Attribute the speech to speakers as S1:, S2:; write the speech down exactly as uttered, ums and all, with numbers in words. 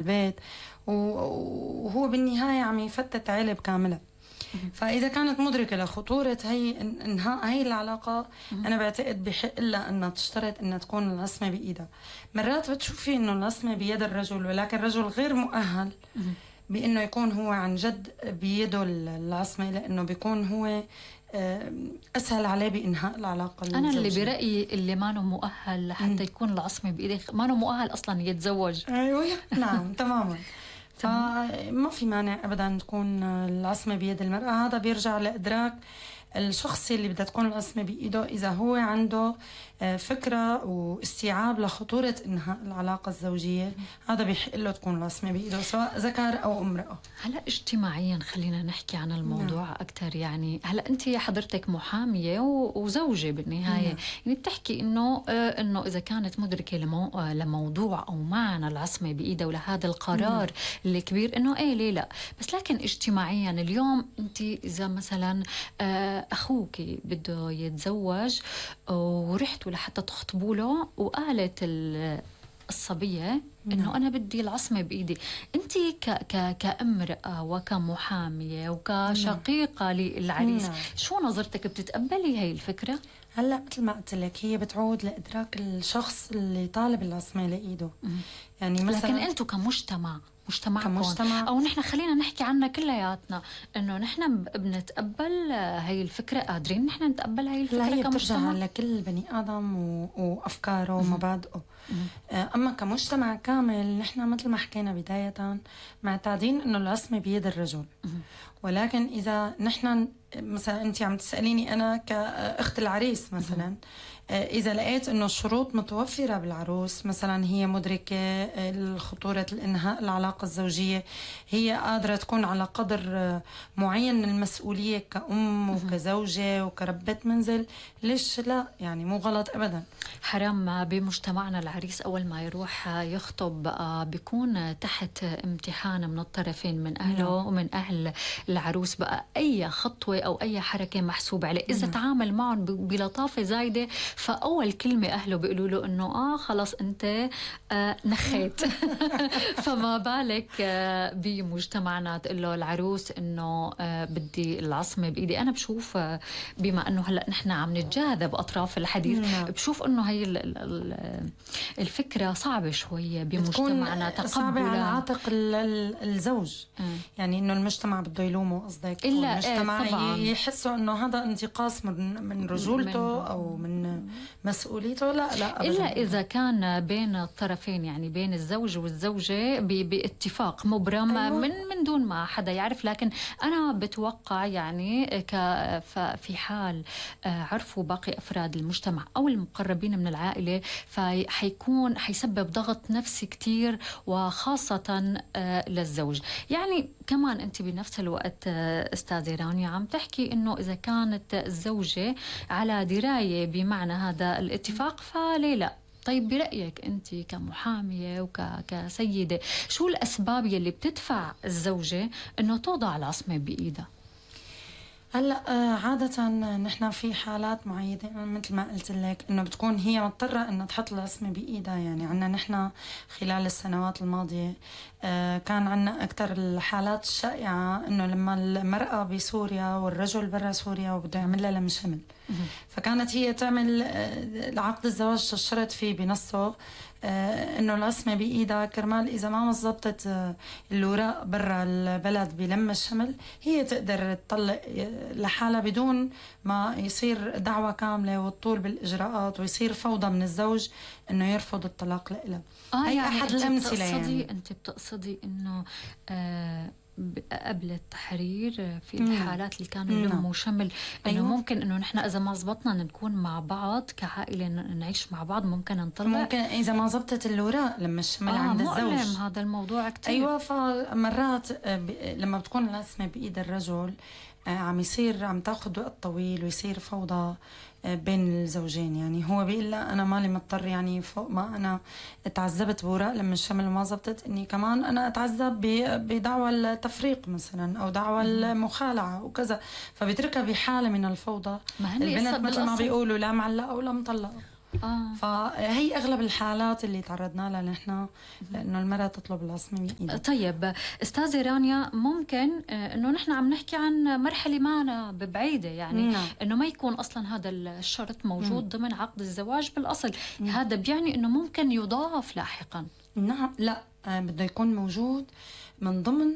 S1: البيت، وهو بالنهاية عم يفتت عيلة كاملة. فإذا كانت مدركة لخطورة هي انهاء هي العلاقة، أنا بعتقد بحق لها أنها تشترط أنها تكون العصمة بإيدها. مرات بتشوفي أنه العصمة بيد الرجل، ولكن الرجل غير مؤهل بأنه يكون هو عن جد بيده العصمة، لأنه بيكون هو أسهل عليه بإنهاء العلاقة الزوجية.
S2: أنا اللي برأيي اللي ما نو مؤهل لحتى يكون العصمة بإيده ما نو مؤهل أصلا يتزوج.
S1: أيوة نعم تماما. فما في مانع أبدا تكون العصمة بيد المرأة. هذا بيرجع لإدراك الشخص اللي بدها تكون العصمة بإيده، إذا هو عنده فكرة واستيعاب لخطورة إنهاء العلاقة الزوجية، هذا بيحق له تكون العصمة بإيده سواء ذكر أو امرأة.
S2: هلا اجتماعيا خلينا نحكي عن الموضوع نعم. أكثر. يعني هلا أنت حضرتك محامية وزوجة بالنهاية نعم. يعني بتحكي إنه إنه إذا كانت مدركة لمو لموضوع أو معنى العصمة بإيده ولهذا القرار نعم. الكبير إنه إيه ليه لا. بس لكن اجتماعيا اليوم أنت إذا مثلا أخوك بده يتزوج ورحتوا لحتى تخطبوا له وقالت الصبية إنه أنا بدي العصمة بإيدي، أنت ك ك كامرأة وكمحامية وكشقيقة للعريس نعم. شو نظرتك؟ بتتقبلي هاي الفكرة؟
S1: هلا مثل ما قلت لك هي بتعود لإدراك الشخص اللي طالب العصمة لإيده. يعني مثلا
S2: لكن أنتوا كمجتمع مجتمعكم او نحن خلينا نحكي عنا كلياتنا انه نحن بنتقبل هاي الفكره، قادرين نحن نتقبل هاي الفكره
S1: لا هي
S2: كمجتمع؟
S1: بترجع لكل بني ادم و... وافكاره ومبادئه. اما كمجتمع كامل نحن مثل ما حكينا بدايه معتادين انه العصمه بيد الرجل. ولكن اذا نحن مثلا انت عم تساليني انا كاخت العريس مثلا، إذا لقيت إنه الشروط متوفرة بالعروس، مثلا هي مدركة خطورة الإنهاء العلاقة الزوجية، هي قادرة تكون على قدر معين من المسؤولية كأم وكزوجة وكربة منزل، ليش لا؟ يعني مو غلط أبدا.
S2: حرام بمجتمعنا العريس أول ما يروح يخطب بيكون تحت امتحان من الطرفين، من أهله ومن أهل العروس. بقى أي خطوة أو أي حركة محسوبة عليه. إذا تعامل معهم بلطافة زايدة فأول كلمة أهله بيقولوا له إنه آه خلاص أنت آه نخيت. فما بالك آه بمجتمعنا تقول له العروس إنه آه بدي العصمة بإيدي. أنا بشوف آه بما إنه هلأ نحن عم نتجاذب أطراف الحديث نعم. بشوف إنه هي الفكرة صعبة شوية بمجتمعنا، تقبلا
S1: صعبة على عاتق الزوج. م. يعني إنه المجتمع بده يلومه قصدك،
S2: إلا
S1: المجتمع
S2: طبعاً.
S1: يحسوا إنه هذا انتقاص من من رجولته من أو من مسؤوليته. لا لا أبداً.
S2: إلا إذا كان بين الطرفين، يعني بين الزوج والزوجة باتفاق مبرم أيوة. من من دون ما حدا يعرف. لكن أنا بتوقع يعني في حال عرفوا باقي أفراد المجتمع أو المقربين من العائلة فحيكون حيسبب ضغط نفسي كتير، وخاصة للزوج. يعني كمان أنت بنفس الوقت أستاذة رانيا عم تحكي إنه إذا كانت الزوجة على دراية بمعنى هذا الاتفاق فليه لا. طيب برأيك أنت كمحامية وكسيدة شو الأسباب يلي بتدفع الزوجة إنه توضع العصمة بإيدها؟
S1: هلا عادة نحن في حالات معينة مثل ما قلت لك انه بتكون هي مضطرة انها تحط العصمة بايدها. يعني عنا نحن خلال السنوات الماضية كان عنا اكثر الحالات الشائعة انه لما المرأة بسوريا والرجل برا سوريا وبده يعمل لها لم شمل، فكانت هي تعمل عقد الزواج تشترط فيه بنصه انه العصمة بايدها كرمال اذا ما مزبطت الوراق برا البلد بلم الشمل هي تقدر تطلق لحالها بدون ما يصير دعوة كاملة والطول بالاجراءات ويصير فوضى من الزوج انه يرفض الطلاق لها.
S2: آه
S1: هي
S2: يعني
S1: احد الامثلة. يعني
S2: انت بتقصدي انه آه قبل التحرير في الحالات اللي كانوا يلموا شمل انه أيوة. ممكن انه نحن اذا ما زبطنا نكون مع بعض كعائله نعيش مع بعض ممكن نطلق،
S1: ممكن اذا ما زبطت الوراق لما الشمل
S2: آه
S1: عند الزوج.
S2: مؤلم هذا الموضوع كتير.
S1: ايوه فمرات لما بتكون العصمه بايد الرجل عم يصير عم تاخذ وقت طويل ويصير فوضى بين الزوجين. يعني هو بيقول لا انا مالي مضطر، يعني فوق ما انا تعذبت بوراق لما الشمل ما زبطت اني كمان انا اتعذب بدعوى التفريق مثلا او دعوى المخالعه وكذا، فبيتركها بحاله من الفوضى. البنت مثل ما بيقولوا لا معلقه ولا مطلقه.
S2: آه.
S1: فهي أغلب الحالات اللي تعرضنا لها نحن، لأنه المرأة تطلب العصمة بإيدها.
S2: طيب أستاذة رانيا، ممكن إنه نحن عم نحكي عن مرحلة ما بعيدة، يعني
S1: نعم.
S2: إنه ما يكون أصلا هذا الشرط موجود
S1: مم.
S2: ضمن عقد الزواج بالأصل.
S1: مم.
S2: هذا بيعني إنه ممكن يضاف لاحقا.
S1: نعم، لا، آه بده يكون موجود من ضمن